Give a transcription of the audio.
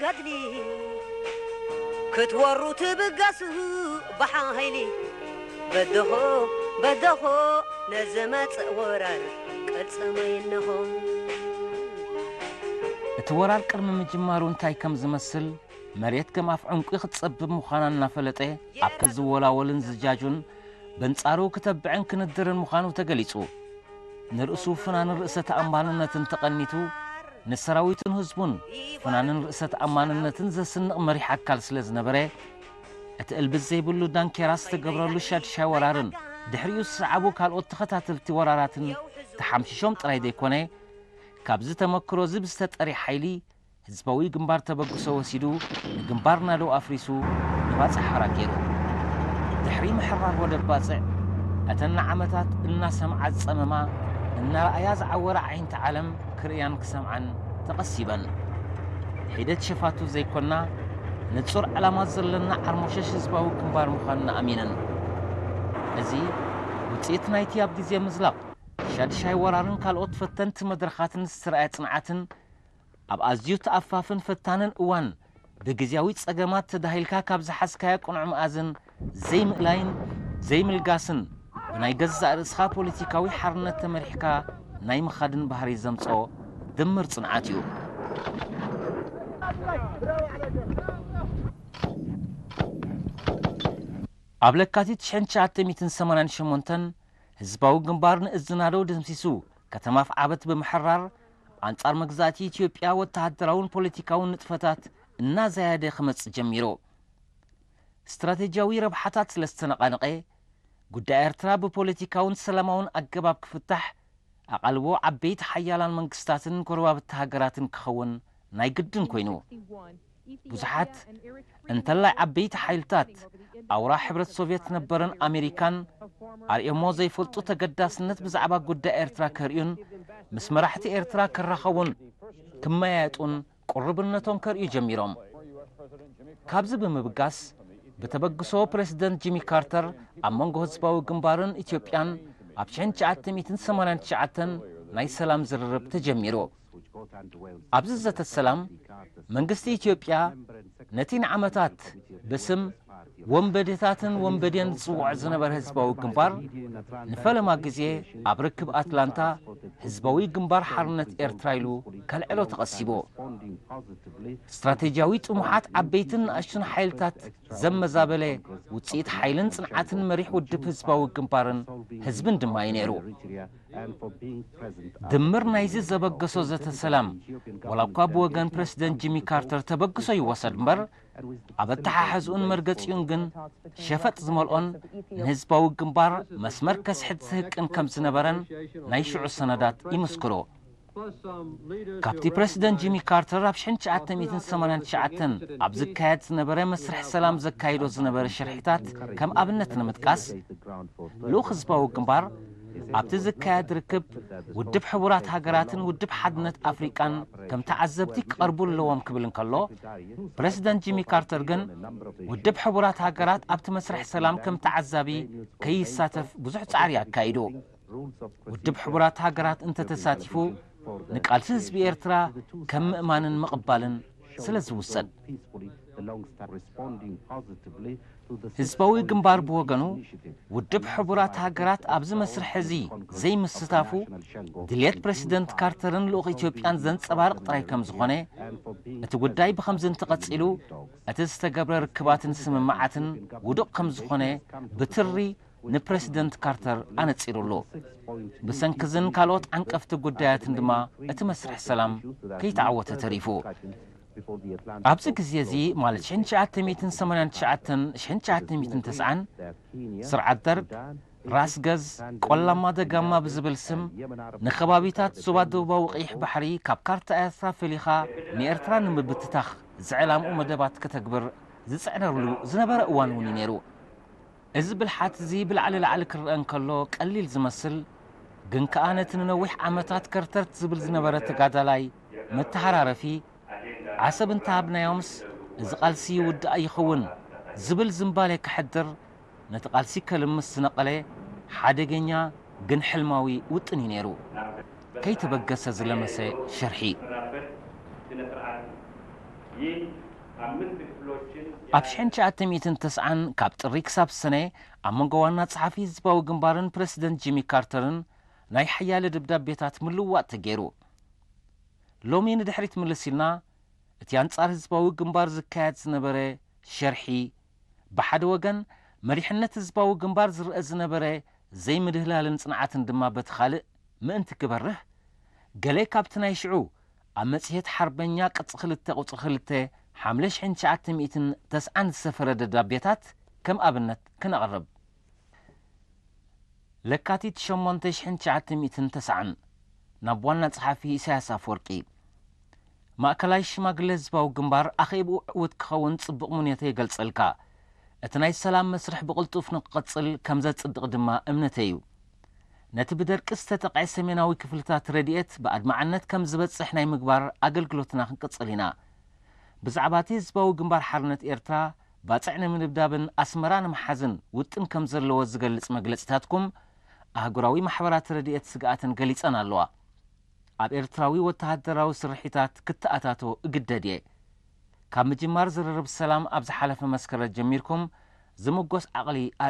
ገድሊ ክትወሩ ትብገሱ ብሓይሊ በደኾ በደኾ ነዝመጽእ ወራር ቅልጽመይ እንሆ። እቲ ወራር ቅድሚ ምጅማሩ እንታይ ከም ዝመስል መሬት ከም ኣፍ ዕንቁ ክትጸብብ ምዃና እናፈለጠ ኣብ ዝወላወልን ዝጃጁን በንጻሩ ክተብዕን ክንድርን ምዃኑ ተገሊጹ። ንርእሱ ፍናንን ርእሰ ተኣማንነትን ተቐኒቱ ንሰራዊቱን ህዝቡን ፍናንን ርእሰ ተኣማንነትን ዘስንቕ መሪሕ ኣካል ስለ ዝነበረ እቲ እልብስ ዘይብሉ ዳንኬራ ዝተገብረሉ ሻድሻይ ወራርን ድሕሪኡ ዝሰዓቡ ካልኦት ተኸታተልቲ ወራራትን ተሓምሺሾም ጥራይ ዘይኮነ ካብዚ ተመክሮ እዚ ብዝተጠሪ ሓይሊ ህዝባዊ ግንባር ተበግሶ ወሲዱ ንግንባር ናደው ኣፍሪሱ ንባጽዕ ሓራ ገይሩ። ድሕሪ ምሕራር ወደብ ባጽዕ እተን ንዓመታት እናሰምዓ ዝጸመማ እናረኣያ ዝዓወራ ኣዒንቲ ዓለም ክርእያን ክሰምዓን ተቐሲበን። ሒደት ሸፋቱ ዘይኮና ንጹር ዕላማ ዘለና ዓርሞሸሽ ህዝባዊ ግንባር ምዃንና ኣሚነን። እዚ ውጽኢት ናይቲ ኣብ ግዜ ምዝላቕ ሻድሻይ ወራርን ካልኦት ፈተንቲ መድረኻትን ዝተረኣየ ጽንዓትን ኣብ ኣዝዩ ተኣፋፍን ፈታንን እዋን ብግዝያዊ ጸገማት ተዳሂልካ ካብ ዝሓዝካዮ ቅኑዕ መኣዝን ዘይምእላይን ዘይምልጋስን ብናይ ገዛእ ርእስኻ ፖለቲካዊ ሓርነት ተመሪሕካ ናይ ምኻድን ባህሪ ዘምጽኦ ድምር ጽንዓት እዩ። ኣብ ለካቲት ሽሕን ትሽዓተ ሚእትን ሰማንያን ሸሞንተን ህዝባዊ ግንባር ንእዝናደው ደምሲሱ ከተማ ኣፍዓበት ብምሕራር ኣንጻር መግዛእቲ ኢትዮጵያ ወተሃደራውን ፖለቲካውን ንጥፈታት እናዘያደ ክመጽእ ጀሚሩ። ስትራቴጂያዊ ረብሓታት ስለ ዝተነቓነቐ ጉዳይ ኤርትራ ብፖለቲካውን ሰላማውን ኣገባብ ክፍታሕ ኣቓልቦ ዓበይቲ ሓያላን መንግስታትን ጎረባብቲ ሃገራትን ክኸውን ናይ ግድን ኮይኑ። ብዙሓት እንተላይ ዓበይቲ ሓይልታት ኣውራ ሕብረት ሶቭየት ነበረን ኣሜሪካን ኣርእዮሞ ዘይፈልጡ ተገዳስነት ብዛዕባ ጉዳይ ኤርትራ ከርእዩን ምስ መራሕቲ ኤርትራ ክራኸቡን ክመያየጡን ቅሩብነቶም ከርእዩ ጀሚሮም። ካብዚ ብምብጋስ ብተበግሶ ፕረሲደንት ጂሚ ካርተር ኣብ መንጎ ህዝባዊ ግንባርን ኢትዮጵያን ኣብ ሽሕን ትሽዓተ ሚእትን ሰማንያን ትሽዓተን ናይ ሰላም ዝርርብ ተጀሚሩ። ኣብዚ ዘተ ሰላም መንግስቲ ኢትዮጵያ ነቲ ንዓመታት ብስም ወንበዴታትን ወንበዴን ዝጽውዖ ዝነበረ ህዝባዊ ግንባር ንፈለማ ግዜ ኣብ ርክብ ኣትላንታ ህዝባዊ ግንባር ሓርነት ኤርትራ ኢሉ ከልዕሎ ተቐሲቡ። ስትራቴጂያዊ ጥሙሓት ዓበይትን ንኣሽቱን ሓይልታት ዘመዛበለ ውጽኢት ሓይልን ጽንዓትን መሪሕ ውድብ ህዝባዊ ግንባርን ህዝብን ድማ እዩ ነይሩ። ድምር ናይዚ ዘበገሶ ዘተ ሰላም ዋላ እኳ ብወገን ፕረሲደንት ጂሚ ካርተር ተበግሶ ይወሰድ እምበር ኣብ ኣተሓሕዝኡን መርገጺኡን ግን ሸፈጥ ዝመልኦን ንህዝባዊ ግንባር መስመር ከስሕት ዝህቅን ከም ዝነበረን ናይ ሽዑ ሰነዳት ይምስክሩ። ካብቲ ፕረሲደንት ጂሚ ካርተር ኣብ ሽሕን ትሽዓተ ሚእትን ሰማንያን ትሽዓተን ኣብ ዝካየድ ዝነበረ መስርሕ ሰላም ዘካይዶ ዝነበረ ሽርሒታት ከም ኣብነት ንምጥቃስ ልኡኽ ህዝባዊ ግንባር ኣብቲ ዝካየድ ርክብ ውድብ ሕቡራት ሃገራትን ውድብ ሓድነት ኣፍሪቃን ከም ተዓዘብቲ ክቐርቡ ኣለዎም ክብል እንከሎ ፕረሲደንት ጂሚ ካርተር ግን ውድብ ሕቡራት ሃገራት ኣብቲ መስርሕ ሰላም ከም ተዓዛቢ ከይሳተፍ ብዙሕ ጻዕሪ ኣካይዱ። ውድብ ሕቡራት ሃገራት እንተተሳቲፉ ንቃልሲ ህዝቢ ኤርትራ ከም ምእማንን ምቕባልን ስለ ዝውሰድ ህዝባዊ ግንባር ብወገኑ ውድብ ሕቡራት ሃገራት ኣብዚ መስርሕ እዚ ዘይምስታፉ ድልየት ፕረሲደንት ካርተርን ልኡኽ ኢትዮጵያን ዘንጸባርቕ ጥራይ ከም ዝኾነ እቲ ጉዳይ ብኸምዚ እንተቐጺሉ እቲ ዝተገብረ ርክባትን ስምምዓትን ውዱቕ ከም ዝኾነ ብትሪ ንፕረሲደንት ካርተር ኣነጺሩሉ። ብሰንኪዝን ካልኦት ዓንቀፍቲ ጉዳያትን ድማ እቲ መስርሕ ሰላም ከይተዓወተ ተሪፉ። ኣብዚ ግዜ እዚ ማለት ሽሕን ትሽዓተ ሚእትን ሰማንያን ትሽዓተን ሽሕን ትሽዓተ ሚእትን ተስዓን ስርዓት ደርግ ራስ ገዝ ቆላማ ደጋማ ብዝብል ስም ንከባቢታት ዞባ ደቡባዊ ቀይሕ ባሕሪ ካብ ካርታ ኤርትራ ፈሊኻ ንኤርትራ ንምብትታኽ ዝዕላምኡ መደባት ከተግብር ዝጽዕነሉ ዝነበረ እዋን እውን እዩ ነይሩ። እዚ ብልሓት እዚ ብላዕሊ ላዕሊ ክረአ እንከሎ ቀሊል ዝመስል ግን ከኣ ነቲ ንነዊሕ ዓመታት ከርተርት ዝብል ዝነበረ ተጋዳላይ መተሃራረፊ ዓሰብ እንተሃብናዮምስ እዚ ቃልሲ ይውዳእ ይኸውን ዝብል ዝንባሌ ከሕድር ነቲ ቃልሲ ከልምስ ዝነቐለ ሓደገኛ ግን ሕልማዊ ውጥን እዩ ነይሩ። ከይተበገሰ ዝለመሰ ሽርሒ። ኣብ ሽሕን ትሽዓተ ሚእትን ተስዓን ካብ ጥሪ ክሳብ ሰነ ኣብ መንጎ ዋና ጸሓፊ ህዝባዊ ግንባርን ፕረሲደንት ጂሚ ካርተርን ናይ ሓያለ ደብዳቤታት ምልውዋጥ ተገይሩ። ሎሚ ንድሕሪት ምልስ ኢልና እቲ ኣንጻር ህዝባዊ ግንባር ዝካየድ ዝነበረ ሸርሒ ብሓደ ወገን መሪሕነት ህዝባዊ ግንባር ዝረአ ዝነበረ ዘይምድህላልን ጽንዓትን ድማ በቲ ካልእ ምእንቲ ክበርህ ገለ ካብቲ ናይ ሽዑ ኣብ መጽሔት ሓርበኛ ቅጽ ክልተ ቁጽሪ ክልተ ሓምለ ሽሕን ትሽዓተ ሚእትን ተስዓን ዝሰፈረ ደብዳቤታት ከም ኣብነት ክነቕርብ። ለካቲት ሸሞንተ ሽሕን ትሽዓተ ሚእትን ተስዓን ናብ ዋና ጸሓፊ ኢሳያስ ኣፈወርቂ። ማእከላይ ሽማግለ ህዝባዊ ግንባር ኣኼብኡ ዕዉት ክኸውን ጽቡቕ ምንዮተይ ይገልጸልካ። እቲ ናይ ሰላም መስርሕ ብቕልጡፍ ንክቕጽል ከም ዘጽድቕ ድማ እምነተይ እዩ። ነቲ ብደርቂ ዝተጠቕዐ ሰሜናዊ ክፍልታት ረድኤት ብኣድማዕነት ከም ዝበጽሕ ናይ ምግባር ኣገልግሎትና ክንቅጽል ኢና። ብዛዕባ እቲ ህዝባዊ ግንባር ሓርነት ኤርትራ ባጽዕ ንምድብዳብን ኣስመራ ንምሓዝን ውጥን ከም ዘለዎ ዝገልጽ መግለጺታትኩም ኣህጉራዊ ማሕበራት ረድኤት ስግኣተን ገሊጸን ኣለዋ። ኣብ ኤርትራዊ ወተሃደራዊ ስርሒታት ክተኣታቶ እግደድ እየ። ካብ ምጅማር ዝርርብ ሰላም ኣብ ዝሓለፈ መስከረም ጀሚርኩም ዝምጎስ ዓቕሊ ኣር